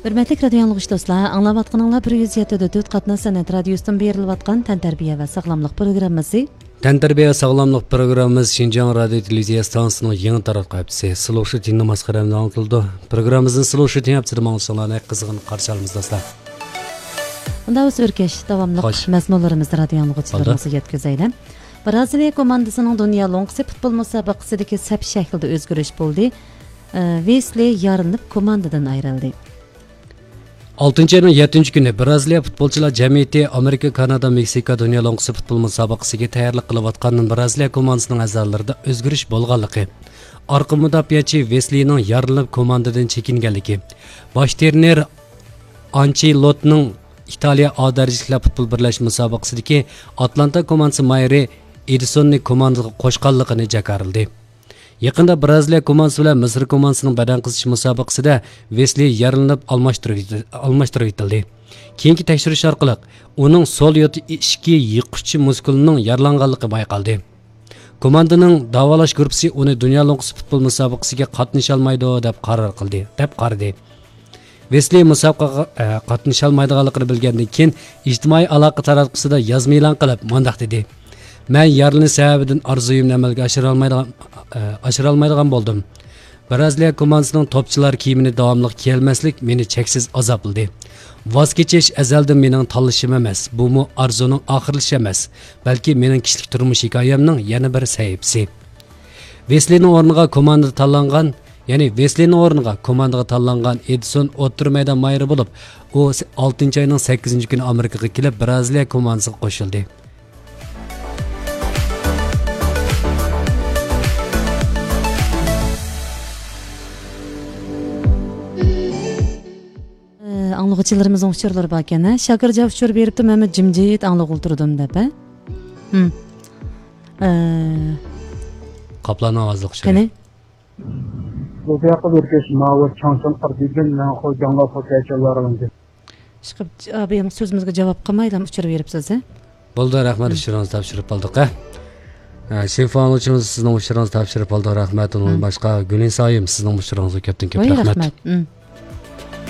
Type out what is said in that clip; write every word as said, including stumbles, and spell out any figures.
ھۆرمەتلىك رادىيو ئاڭلىغۇچى دوستلار، ئاڭلاۋاتقىنىڭلار بىر يۈز يەتتە دۆت قاتناش سەنئەت رادىيوسىدىن بېرىلىۋاتقان تەنتەربىيە ۋە ساغلاملىق پروگراممىسى. تەنتەربىيە ساغلاملىق پروگراممىمىز شىنجاڭ رادىيو تېلېۋىزىيە ئىستانسىسىنىڭ يېڭى تاراتقۇ ھەپتىسى سلوشىتىننىڭ ماسخىرەمدە ئاڭلىتىلىدۇ. پروگراممىمىزنى سلوشىتىن ھەپتىسىدە ئاڭلىشىڭلارنى قىزغىن قارشى ئالىمىز، دوستلار. ئۇندا بىز ئۆركەش داۋاملىق خوش. مەزمۇنلىرىمىزنى رادىيو ئاڭلىغۇچىلىرىمىزغا يەتكۈزەيلى. بولدى. بىرازىلىيە كوماندىسىنىڭ دۇنيا لوڭقىسى پۇتبول مۇسابىقىسىدىكى سەپ شەكلىدە ئۆزگىرىش بولدى. ئە، ۋېسلى يارىلىنىپ كوماندىدىن ئايرىلدى. ئالتىنچى ئاينىڭ يەتتىنچى كۈنى بىرازىلىيە پۇتبولچىلار جەمئىيىتى ئامېرىكا، كانادا، مېكسىكا دۇنيا لوڭقىسى پۇتبول مۇسابىقىسىگە تەييارلىق قىلىۋاتقاندىن بىرازىلىيە كوماندىسىنىڭ ئەزالىرىدا ئۆزگىرىش بولغانلىقى، ئارقا مۇداپىئەچى ۋېسلىنىڭ يارىلىنىپ كوماندىدىن چېكىنگەنلىكى، باش ترېنېر ئانچېلوتتىنىڭ ئىتالىيە ئا دەرىجىلىك پۇتبول بىرلەشمە مۇسابىقىسىدىكى ئاتلانتا كوماندىسى مايورى ئېدىسوننى كوماندىغا قوشقانلىقىنى جاكارلىدى. يېقىندا بىرازىلىيە كوماندىسى بىلەن مىسىر كوماندىسىنىڭ بەدەن قىزىتىش مۇسابىقىسىدە ۋېسلى يارىلىنىپ ئالماشتۇرۇۋېتىلدى. كېيىنكى تەكشۈرۈش ئارقىلىق ئۇنىڭ سول يوتا ئىچكى يىققۇچ مۇسكۇلىنىڭ يارىلانغانلىقى بايقالدى. كوماندىنىڭ داۋالاش گۇرۇپپىسى ئۇنى دۇنيا لوڭقىسى پۇتبول مۇسابىقىسىگە قاتنىشالمايدۇ دەپ قارار قىلدى، دەپ قارىدى. ۋېسلى مۇسابىقىگە، ئە، قاتنىشالمايدىغانلىقىنى بىلگەندىن كېيىن، ئىجتىمائىي ئالاقە تاراتقۇسىدا يازما ئېلان قىلىپ، مۇنداق دېدى: «مەن يارىلىنىش سەۋەبىدىن ئارزۇيۇمنى ئەمەلگە ئاشۇرالمايدىغان، ئە، ئاشۇرالمايدىغان بولدۇم. بىرازىلىيە كوماندىسىنىڭ توپچىلار كىيىمىنى داۋاملىق كىيەلمەسلىك مېنى چەكسىز ئازابلىدى. ۋاز كېچىش ئەزەلدىن مېنىڭ تاللىشىم ئەمەس، بۇمۇ ئارزۇنىڭ ئاخىرلىشىشى ئەمەس، بەلكى مېنىڭ كىشىلىك تۇرمۇش ھېكايەمنىڭ يەنە بىر سەھىپىسى.» ۋېسلىنىڭ ئورنىغا كوماندىغا تاللانغان، يەنى ۋېسلىنىڭ ئورنىغا كوماندىغا تاللانغان ئېدىسون ئوتتۇرا مەيدان مايورى بولۇپ، ئۇ ئالتىنچى ئاينىڭ سەككىزىنچى كۈنى ئامېرىكىغا كېلىپ، بىرازىلىيە كوماندىسىغا قوشۇلدى. ئاڭلىغۇچىلىرىمىزنىڭ ئۇچۇرلىرى باركەن، ھە؟ شاكىر جاف ئۇچۇر بېرىپتۇ، مەنمۇ جىمجىت ئاڭلىغىلى تۇردۇم دەپ، ھە؟ ھىم. ئە، قاپلاننىڭ ئاۋازلىق ئۇچۇرى. قېنى؟ بۇ ياققا بىر كەش ماۋۇ چاڭچاڭ قىردىن مەن خو جاڭغا خو كەچەللەر ئالىندى. ئىشقىلىپ، ئابىيام سۆزىمىزگە جاۋاب قىلمايلا ئۇچۇر بېرىپسىز، ھە؟ بولدى، رەھمەت، ھىم. ئۇچۇرىڭىزنى تاپشۇرۇپ ئالدۇق، ھە؟ ئە، شىنفا ئاڭلىغۇچىمىز سىزنىڭ ئۇچۇرىڭىزنى تاپشۇرۇپ ئالدۇق، رەھمەت. ئۇنىڭدىن ھىم. باشقا گۈلنىسا ھايىم، سىزنىڭ ئۇچۇرىڭىزغا كۆپتىن كۆپ ۋاي، رەھمەت. رەھمەت. ھىم.